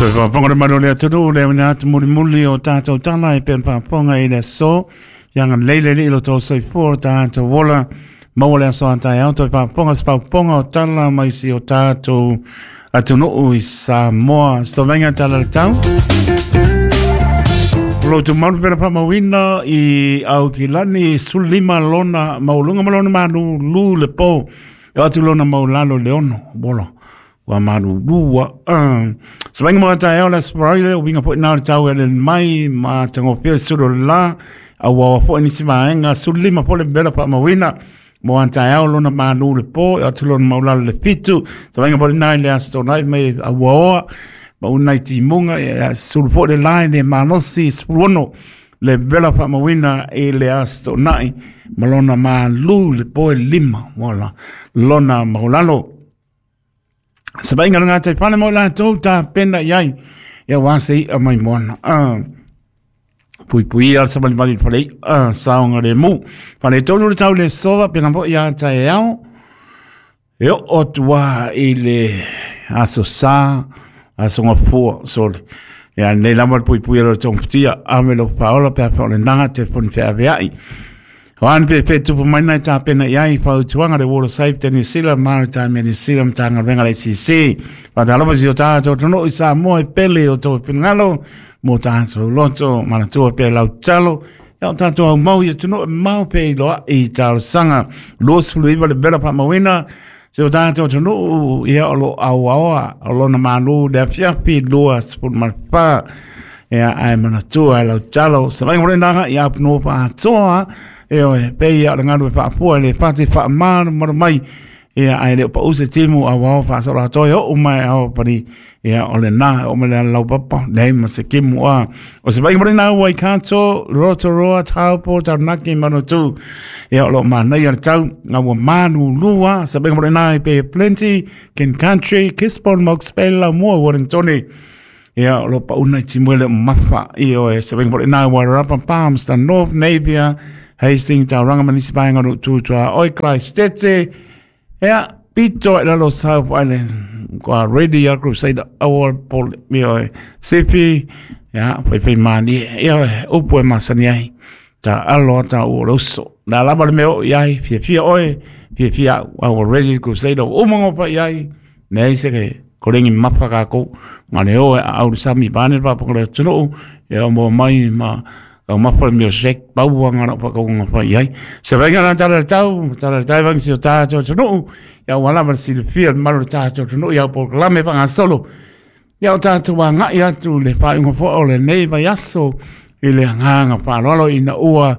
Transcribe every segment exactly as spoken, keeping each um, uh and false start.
Toe faafofoga le mamalu o le atunuu le auina atu mulimuli o tatou tala e pei ona faafofoga i le aso. Ia agalelei le Alii i lo outou soifua o tatou ola, maua le aso a taeao toe faafofoga se faafofoga o tala mai si o tatou atunuu i Samoa. Se tovaiga tala le tau. O lo tumau pena faamauina i Aukilani sefulu lima lona maualuga ma lona malulu le po. E o atu lona maulalo le ono. Bola. Ua malulu a. Uh. Savaiga mo taeao le Aso Faraile, o winga foi na o le tau e le mai ma tagofia le sulu o le la. Au aua foi nisi vaega sefulu lima po le vela faamauina. Mo a taeao lona malu le po, e atu lona maulalo le fitu. Savaiga po le nai le aso Toonai mai auaoa. Ma unai timuga, e sulu foi le lai le malosi sefulu ono le vela faamauina i le Aso Toonai ma lona malu le po e lima wala lona maulalo. Savaiga le gatai fale mo latou tapena i ai ia wa se i'a mai moana. Ah. Pui pui al sa mali mali fale uh, saonga le mu. Fale tonu le tau le sova pena po ia taeao. E o o tua i le aso sa, aso ngafua, sorry. Ia nei lava le pui pui le tongfutia, ame lo paola pe pa o le nanga telefoni pe aveai. O an pe pe tupu mai nai tapena i ai fautuaga le Water Safety New Zealand, Maritime New Zealand, Matagaluega le A C C. Faatalofa si o tatou atunuu i Samoa e pele o tou finagalo mo tatou loto manatua pe lau talo. Ia o tatou aumau i atunuu e mamao pe iloa i talosaga. Luasefulu iva le vela faamauina se o tatou atunuu ia o lo auaoa o lona malu le afiafi luasefulu ma fa. Ia ae manatua e lau talo. Savaiga mo le ia apunoa faatoa. E oe, pe ia o le galu e faapua le pati faamalumalu mai. Ia ae le o pau se timu a wao whaasoro atoa e o mai ao pari. Ia o le nā o me le lau papa. Nei ma se kimu a. O se vai mo le nā Waikato, Rotorua, Taupo, Taranaki, Manatu. Ia o lo mānei a le tau. Ngā ua manu lua. Se vai mo le nā i Bay Plenty, King Country, Gisborne, Hawke's Bay, Laumua, Wellington. Ia o lo pauna i timuele o mafa. Ia o e se vai mo le nā Wairarapa, Palmerston North, Napier, Hastings, Tauranga, Manisi Paenga, Tutua, Oi, Christete. Ia, pito e lalo South Island. Kua ready a Crusader Award Pole. Ia e Sipi. Ia, fai fai mani. Ia e upu e masani ai. Ta alo ta ua uso. Nā lava le mea o iai, fia fia oe, fia fia au, ready Crusader. Umango pa iai. Nei se ke korengi mapa kākou. Ngā le oe a au sami pane pa pangale atunuu. Ia mo mai ma kau mapa le mea sek paua ngā rau pakau ngā whai ai. Se vainga nā tala tau, tala tau vangi si o tātou atunuu. Ia ua lava le silafia le malu le tātou atunuu. Ia o polokalame whangasolo. Ia o tātou wā ngai atu le whainga po o le nei vai aso i le nganga whaalolo ina ua.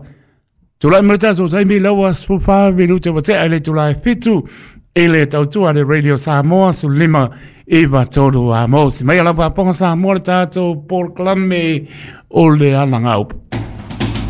Tulai mai le tātou taimi laua sefulufa minute ua tea i le itula e fitu i le tautua le Radio Samoa su lima iwa tolu a mo. Si mai ala paponga Samoa le tātou polokalame o le alanga upu.